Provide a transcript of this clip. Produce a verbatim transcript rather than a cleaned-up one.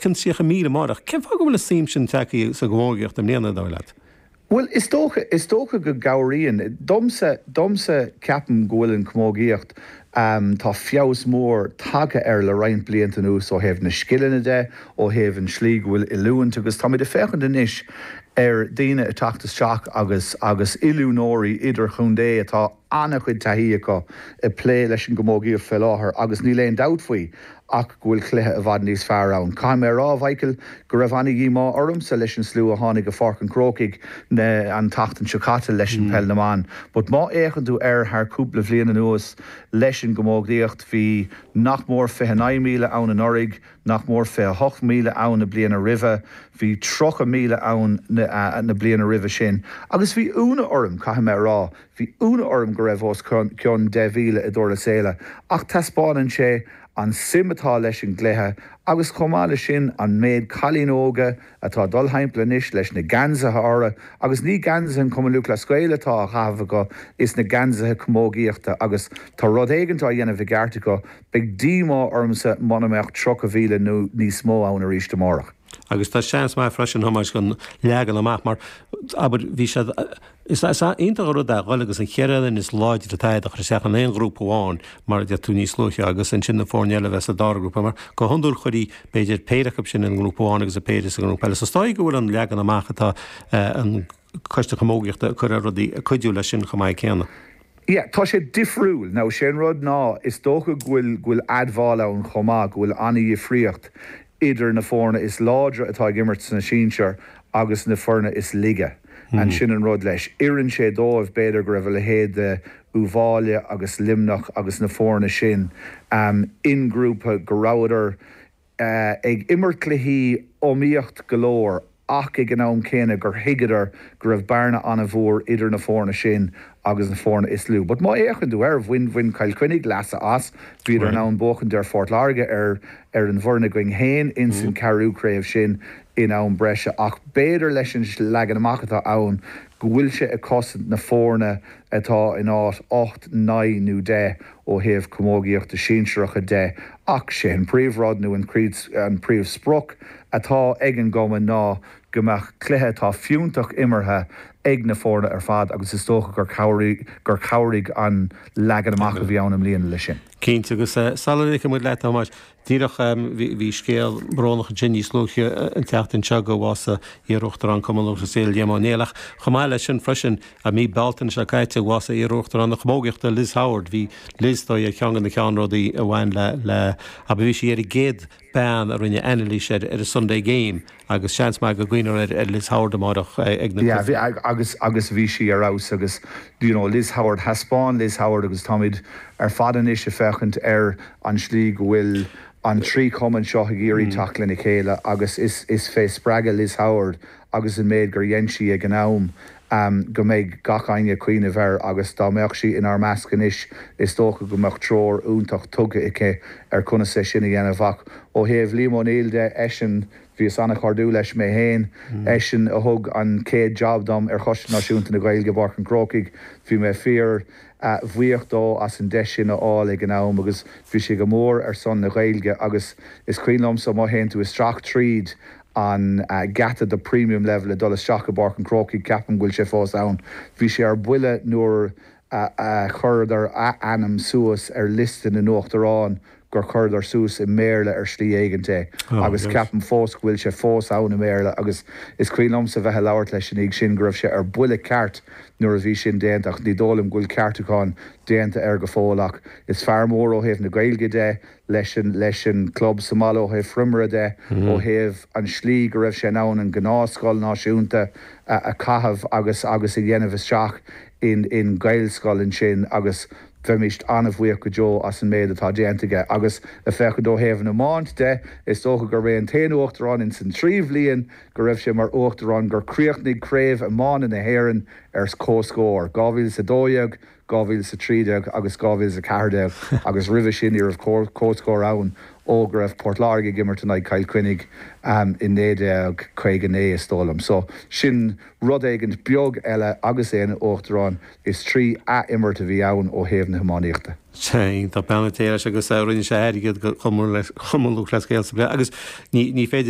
cionn tríocha míle amárach. Cén fáth go bhfuil an suim sin tagtha sa gcamógaíocht i mbliana, dar leat? Bhuel, is dócha, is dócha go gcabhraíonn. Domsa, domsa ceapaim go bhfuil an chamógaíocht, tá feabhas mór tagtha air le roinnt blianta anuas ó thaobh na scileanna de, ó thaobh an slí go bhfuil oiliúint agus táimid ag féachaint anois ar daoine ag teacht isteach agus agus oiliúnóirí idirchontae atá an-chuid taithí acu ag plé leis an gcamógaíocht fé láthair agus níl aon dabht faoi ach go bhfuil cluiche i bhfad níos fearr ann. Caithfidh mé a rá, a Mhichael, go raibh an-dhíomá ormsa leis an slua a tháinig go Pháirc an Chrócaigh na an tseachtain seo caite leis an peil na mban. But má fhéachann tú air thar cúpla bhliain anuas leis an gcamógaíocht, bhí nach mór fiche naoi míle ann anuraidh, nach mór fiche hocht míle ann na bliana roimhe, bhí tríocha míle ann na na bliana roimhe sin. Agus bhí ionadh orm, caithfidh mé a rá, bhí ionadh orm go raibh os cionn deich mhíle i dTurlas Éile, ach taispeánann sé an suim atá leis an gcluiche agus chomh maith leis sin an méid cailín óga atá ag dul thimpeall anois leis na geansaithe orthu agus ní geansaithe an Chumann Lúthchleas Gael atá á chaitheamh acu is na geansaithe camógaíochta agus tá rud éigint á dhéanamh i gceart acu. Beidh díomá ormsa muna mbeadh tríocha mhíle nó níos mó ann arís amárach. Agus tá seans maith freisin, Thomáis, an leagan amach mar, abair, bhí siad, is iontach an rud é dhul agus an cheithre fhoireann is láidre atá agat a chur isteach in aon ghrúpa amháin mar a deir tú níos luaithe agus ansin na foirne eile a bheith sa dara grúpa mar go hiondúil chuirtí b'fhéidir péire acu sin i ngrúpa amháin agus a péire sa ngrúpa eile. So is dóigh go bhfuil an leagan amach atá an Coiste Camógaíochta ag cur ar rudaí ag cuidiú leis sin chomh maith céanna. Yeah, tá sé difriúil. Now, sé an rud ná, is dócha go bhfuil, go bhfuil admháil ann chomh maith go bhfuil an-dhifríocht idir na foirne is láidre atá ag imirt sna sinsir agus na foirne is laige. And sin an rud leis. Oireann sé dóibh, b'fhéidir, go raibh a leithéid de Uíbh Fhailí agus Luimneach agus na foirne sin in ngrúpa go rabhadar ag imirt cluichí iomaíocht go leor ach ag an am céanna gur thuigeadar go raibh bearna an-mhór idir na foirne sin agus na foirne is lú. But má fhéachann tú air, bhain, bhain Cill Chainnigh leas as, bhíodar in ann buachaint ar Phort Láirge ar, ar an bhfoireann againn féin ins an ceathrú craobh sin in am breise ach b'fhéidir leis an leagan amach atá ann go bhfuil sé ag cosaint na foirne atá in áit ocht, naoi nó deich ó thaobh camógaíochta sinsearacha de ach sé an príomhrud nó an príomhsprioc atá ag an gcumann ná go mbeadh cluiche atá fiúntach imeartha ag na foirne ar fad agus is dócha gur chabhraigh gur chabhraigh an leagan amach a bhí ann i mbliana leis sin. Cinnte, agus sula ligfidh muid leat, a Thomáis, díreach bhí scéal brónach ansin níos luaithe an tseachtain seo go bhásaigh iar-Uachtarán Chumann Lúthchleas Gael, Liam Ó Néill, ach chomh maith leis sin freisin, i mí Bealtaine seo caite, bhásaigh iar-Uachtarán na Camógaíochta, Liz Howard. Bhí Liz, dóigh, ar cheann de na ceannródaí a bhain le, le, abair, bhí sí ar an gcéad bean a rinne anailís ar ar an Sunday Game agus seans maith go gcuimhneofar ar Liz Howard amárach ag na Yeah, bhí, agus agus bhí sí ar fheabhas agus you know Liz Howard, thaispeáin Liz Howard agus táimid ar fad anois ag féachaint ar an slí go bhfuil an trí chumann seo ag iarraidh teacht lena chéile agus is is fé spreagadh Liz Howard agus an méid gur dhein sí ag an am go mbeidh gach éinne ag cuimhneamh air agus dá mbeadh sí inár measc anois is dócha go mbeadh treoir iontach tugtha aici ar conas é sin a dhéanamh ach ó thaobh Liam Ó Néill de, eisean, bhíos an-chairdiúil leis mé féin, eisean a thug an chéad job dom ar Choiste Náisiúnta na Gaeilge i bPáirc an Chrócaigh, bhí mé fíor bhuíoch dó as an deis sin a fháil ag an am agus bhí sé go mór ar son na Gaeilge agus is cuimhin liomsa má théann tú isteach tríd an geata do premium level ag dul isteach i bPáirc an Chrócaigh, ceapaim go bhfuil sé fós ann. Bhí sé ar buile nuair a chuireadar a ainm suas ar liosta na n-uachtarán gur chuireadar suas i mBéarla ar shlí éigint é agus ceapaim fós go bhfuil sé fós ann i mBéarla agus is cuimhin liomsa bheith ag labhairt leis an oíche sin go raibh sé ar buile ceart nuair a bhí sin déanta ach ní dóigh liom go bhfuil ceartúchán déanta air go fóill ach is fear mór ó thaobh na Gaeilge de leis an leis an club sa mbaile ó thaobh Phrimera de, ó thaobh an slí go raibh sé in ann an gnáthscoil náisiúnta a a chaitheamh agus agus a dhéanamh isteach in in Gaelscoil ansin agus bheimíst an-bhuíoch go deo as an méid atá déanta aige agus ag féachaint ó thaobh an iomáint de is dócha gurb é an t-aon uachtarán ins an trí bhliain go raibh sé mar uachtarán gur chríochnaigh Craobh Iomána na hÉireann ar comhscór, dhá mhíle is a dó dhéag, dhá mhíle is a trí déag agus dhá mhíle is a ceathair déag agus roimhe sin ní raibh comhscór ann ó go raibh Port Láirge ag imirt in aghaidh Chill Chainnigh in naoi déag caoga naoi is dóigh liom. So sin rud éigint beag eile agus é ina uachtarán is trí ath-imirt a bhí ann ó thaobh na hiománaíochta. Sea, iontach, beannacht Dé leis agus rinne sé airgead do Chumann Lúthchleas Gael sa bhliain agus ní féidir